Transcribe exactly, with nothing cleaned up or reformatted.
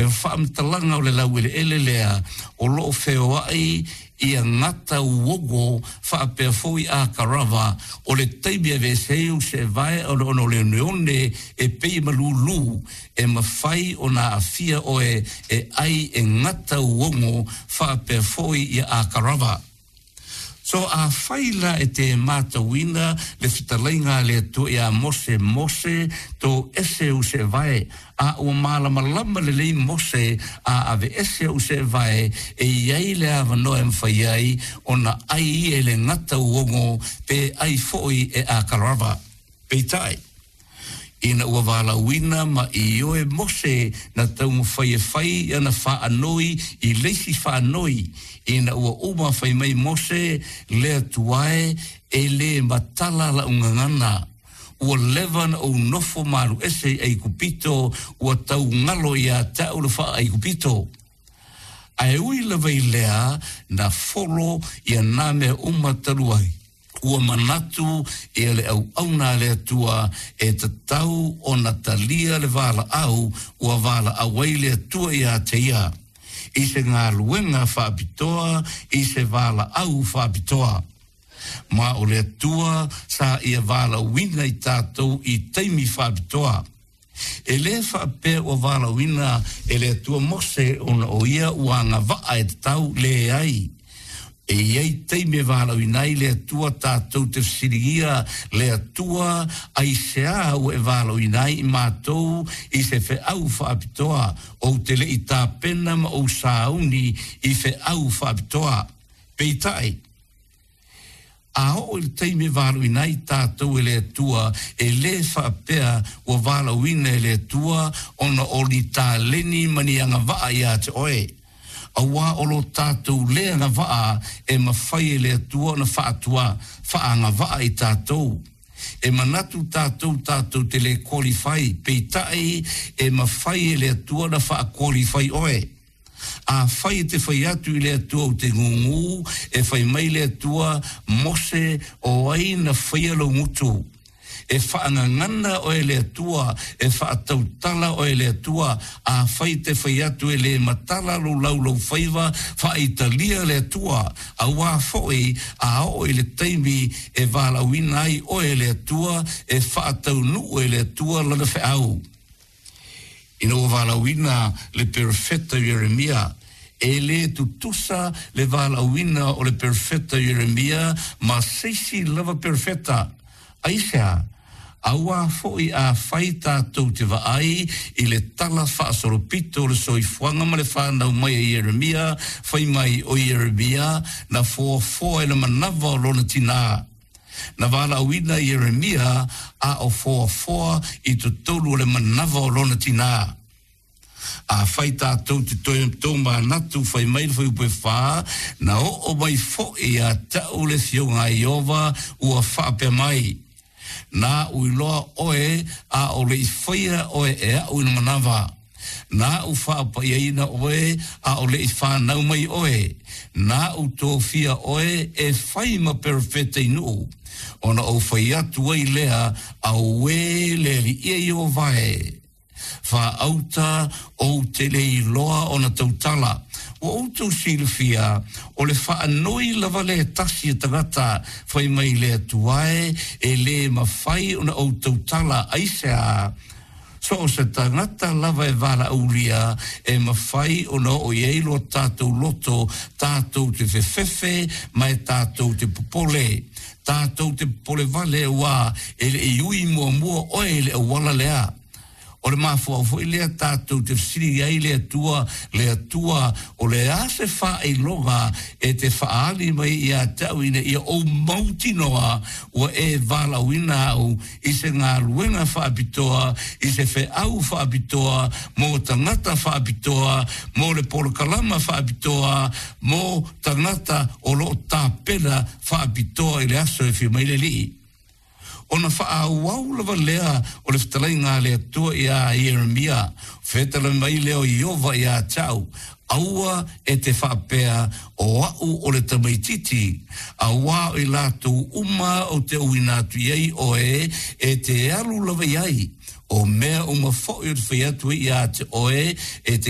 E faamatalaga o le laueleele lea o loo feoai ia gata uogo faapea foi akarava o le taimi e aveese ai ou seevae ona o le oneone e pei e malūlū e mafai ona aafia oe e ai e gata uogo faapea foi ia akarava. So afai la e te matauina le fetalaiga a le Atua iā Mose, Mose, toese ou seevae, a ua malamalama lelei Mose a aveese ou seevae e iai le avanoa e mafai ai ona ai ia i le gata uogo pe ai foi e akarava. Peitai, ina ua valaauina ma ioe Mose na taumafai e fai ana faanoi i le isi faanoi, ina ua uma fai mai Mose, Le Atua e, e lē matala la'u gagana, ua leva na ou nofo ma alu ese i Aikupito, ua tau galo iā te a'u le faa-Aikupito. Ae ui lava i lea, na folo ia nā mea uma talu ai, ua manatu ia le auauna a le Atua e tatau ona talia le valaau ua valaau ai le Atua iā te ia, i se galuega faapitoa, i se valaau faapitoa. Ma o le Atua sa ia valaauina i tatou i taimi faapitoa. E lē faapea ua valaauina e le Atua Mose ona o ia ua agavaa e tatau, leai. E i ai taimi e valaauina ai le Atua tatou te fesiligia le Atua, Aisea ua e valaauina ai i matou i se feau faapitoa, ou te le i tapena ma ou sauni i feau faapitoa? Peitai, a oo i le taimi e valaauina ai tatou e le Atua, e lē faapea ua valaauina e le Atua ona o ni taleni ma ni agavaa iā te oe. Auā o lo tatou lē agavaa e mafai e le Atua ona faatua faaagavaa i tatou. E manatu tatou tatou te lē qualify, peitai e mafai e le Atua ona faa-qualify oe. Afai e te fai atu i le Atua ou te gūgū, e fai mai le Atua, Mose, o ai na faia lou gutu? E faagagana oe e le Atua, e faatautala oe e le Atua, afai e te fai atu e lē matala lou laulaufaiva, faaitalia le Atua, auā foi a oo i le taimi e valaauina ai oe e le Atua, e faataunuu e le Atua lana feau. Ina ua valaauina le perofeta Ieremia, e lē tutusa le valaauina o le perofeta Ieremia ma se isi lava perofeta. Aisea? Auā foi afai tatou te vaai i le tala faasolopito o le soifuaga ma le fanau mai a Ieremia, fai mai o Ieremia na foafoa i le manava o lona tinā. Na valaauina Ieremia a o foafoa i totonu o le manava o lona tinā. Afai tatou te toe tomanatu, fai mai le fuaiupu e fa, Na oo mai foi ia te a'u le Afioga a Ieova ua faapea mai, Na aʻu iloa oe a o le i faia oe e aʻu i le manava. Na aʻu faapaiaina oe a o le i fanau mai oe. Na aʻu tofia oe e fai ma perofeta i nuu. Ona ou fai atu ai lea, Auē le Alii e Ieova e! Faauta ou te le iloa ona tautala. Ua outou silafia, o le faanoi lava lea tasi a tagata fai mai le Atua e, e lē mafai ona ou tautala, aisea? So o se tagata lava e valaaulia e mafai ona oo i ai lo tatou loto, tatou te fefefe ma e tatou te popole. Tatou te popole vale auā e le i ui muamua oe i le auala lea. O le mafuaaga foi lea tatou te fesili ai le Atua, Le Atua, o le a se faailoga e te faaali mai ia te au ina ia ou mautinoa ua e valaauina au i se galuega faapitoa, i se feau faapitoa, mo tagata faapitoa, mo le polokalama faapitoa, mo tagata o lo o tapena faapitoa i le aso e afio mai le Alii? Ona faaauau lava lea o le fetalaiga a le Atua iā Ieremia, Fetalai mai lea o Ieova iā te au, Aua e te faapea, O aʻu o le tamaititi, auā o i latou uma ou te auina atu i ai oe e te alu lava i ai, o mea uma foi ou te fai atu ai iā te oe, e te